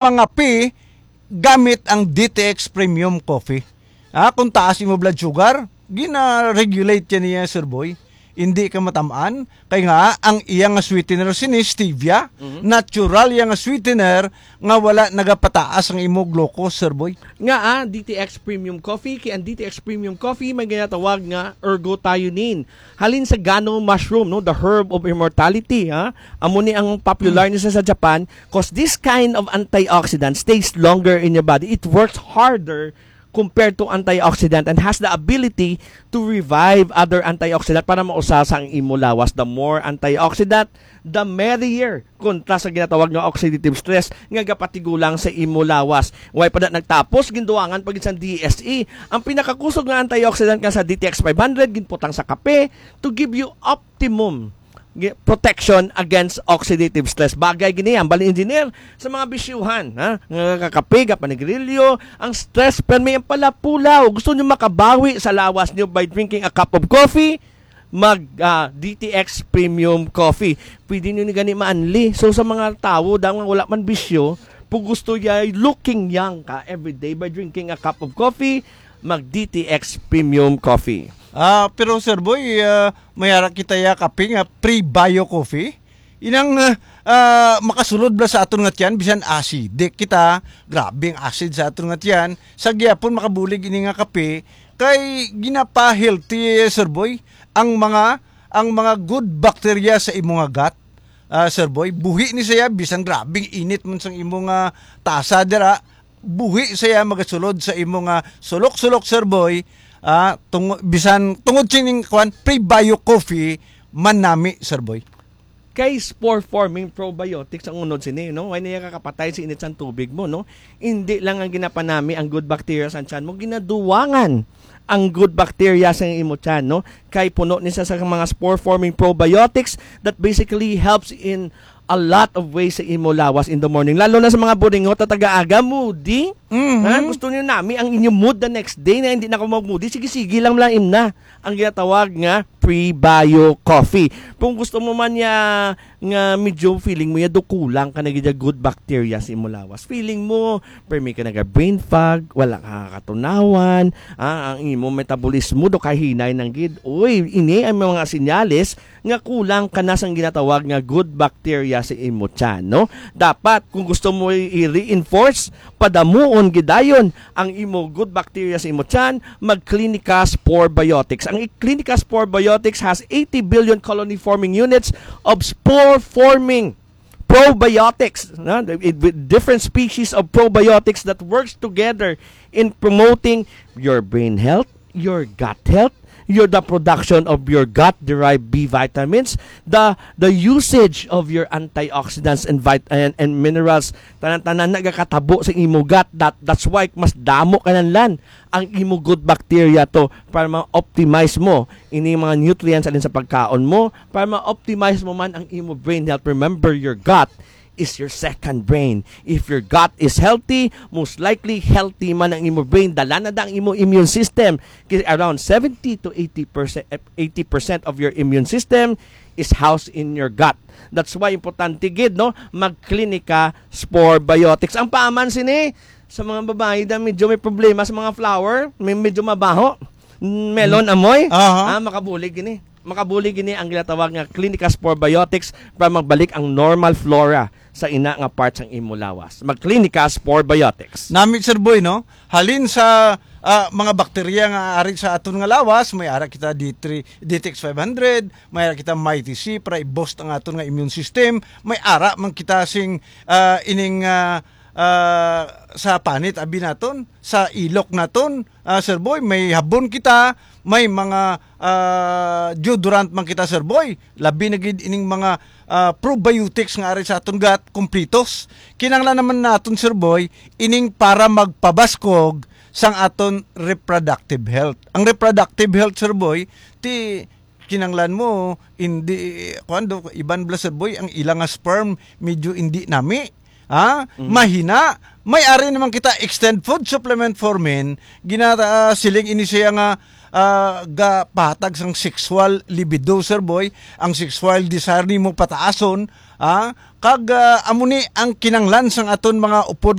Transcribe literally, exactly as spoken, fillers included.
mangape gamit ang D T X Premium Coffee. Ah, kung taas imo blood sugar, gina-regulate yan niya, Sir Boy. Hindi ka matamaan. Kay nga, ang iya nga sweetener sini, stevia, Mhm. natural iya nga sweetener nga wala nagapataas ang imo glucose, Sir Boy. Nga, ah, D T X Premium Coffee, kay ang D T X Premium Coffee may ginatawag nga ergothioneine. Halin sa gano mushroom, no, the herb of immortality, ha? Amo ni ang popular ni sa, sa Japan, 'cause this kind of antioxidant stays longer in your body. It works harder compared to antioxidant and has the ability to revive other antioxidant para mausa sa ang imo lawas. The more antioxidant, the merrier, kontra sa ginatawag nga oxidative stress nga gapatigulang sa imo lawas. Way pa na nagtapos, ginduwangan pa gid sang D S E. Ang pinakakusog nga antioxidant nga sa D T X five hundred, ginputang sa kape to give you optimum gi-, protection against oxidative stress. Bagay gini, ang bali engineer, sa mga bisyuhan, ha? Nga kakape, kapanigrilyo, ang stress, permi ang palapulaw. Gusto nyo makabawi sa lawas nyo by drinking a cup of coffee? Mag, ah, D T X Premium Coffee. Pwede nyo ni gani maanli. So, sa mga tawo daw nga wala man bisyo, kung gusto ya looking young ka every day by drinking a cup of coffee, mag D T X Premium Coffee. Ah, pero Sir Boy, ah, may ara kita ya kape nga pre-bio coffee. Inang, ah, ah, makasulod bala sa aton nga tiyan, bisan acidic kita, grabe ang acid sa aton nga tiyan. Sa gihapon makabulig ini nga kape, kay ginapa-healthy, Sir Boy, ang mga, ang mga good bacteria sa imo nga gut. Ah, Sir Boy, buhi ni siya, bisan grabing init man sang imo nga tasa dira, buhi siya magasulod sa imo nga sulok-sulok, Sir Boy. Ah, tungo-, bisan tungod sining, kuwan, prebio coffee, manami, Sir Boy. Kay spore-forming probiotics ang unod sini, no? Way niya kakapatay sa init sang tubig mo, no? Hindi lang ang ginapanami ang good bacteria sa tiyan mo, ginaduwangan ang good bacteria sa imo tiyan, no? Kay puno ni sa, sa mga spore-forming probiotics that basically helps in a lot of ways sa imo lawas in the morning. Lalo na sa mga buringot at taga-aga, moody. Mhm. Ha? Gusto niyo nami ang inyo mood the next day na hindi na ka mag-moody. Sige-sige lang, lang im na ang ginatawag nga prebio coffee. Kung gusto mo man niya nga medyo feeling mo ya do kulang ka na gid ya good bacteria sa imo lawas. Feeling mo, permi ka naga brain fog, wala ka katunawan, ah, ang imo metabolismo do kahinay nang gid. Uy, ini ang mga senyales nga kulang ka na sang ginatawag nga good bacteria sa imo tiyan, no? Dapat, kung gusto mo i-, i-reinforce, padamuon gidayon ang imo good bacteria sa imo tiyan, mag Clinicas Probiotics. Ang Clinicas Probiotics has eighty billion colony-forming units of spore-forming probiotics, no? With different species of probiotics that works together in promoting your brain health, your gut health, your, the production of your gut-derived B vitamins, the the usage of your antioxidants and vit-, and, and minerals, tanan-tanan nagakatabo sa imo gut. That, that's why mas damo kananlan ang imo good bacteria to para ma-optimize mo ini mga nutrients alin sa pagkaon mo, para ma-optimize mo man ang imo brain health. Remember, your gut is your second brain. If your gut is healthy, most likely healthy man ang imo brain. Dala na da ang imo immune system. Kay around seventy to eighty percent, eighty percent of your immune system is housed in your gut. That's why importante gid, no, magklinika spore biotics. Ang paaman sini sa mga babayi da medyo may problema sa mga flower, may medyo mabaho. Melon amoy, Aha. ah, makabulig ini. Makabulig ini ang ginatawag nga Clinicas Probiotics para magbalik ang normal flora sa ina nga part sang imo lawas. Mag Clinicas Probiotics. Nami, Sir Boy, no? Halin sa, ah, mga bakterya nga ari sa aton nga lawas, may ara kita D three, D T X five hundred, may ara kita Mighty C para i-boost ang aton nga immune system, may ara man kita sing, ah, ining, ah, ah, sa panit abi naton, sa ilok naton, ah, Sir Boy, may habon kita, may mga, ah, deodorant man kita, Sir Boy. Labi na gid ining mga, ah, probiotics nga ari sa aton gut, kumplitos. Kinahanglan naman naton, Sir Boy, ining para magpabaskog sang aton reproductive health. Ang reproductive health, Sir Boy, ti kinanglan mo, hindi, kuwan do, iban bala, Sir Boy, ang ila nga sperm, medyo hindi nami. Ha? Mm. Mahina. May ari naman kita extend food supplement for men. Gina, ah, siling ini siya nga, ah, gapahatag sang sexual libido, Sir Boy. Ang sexual desire nimo pataason. Ha? Kag, ah, amo ni ang kinanglan sang aton mga upod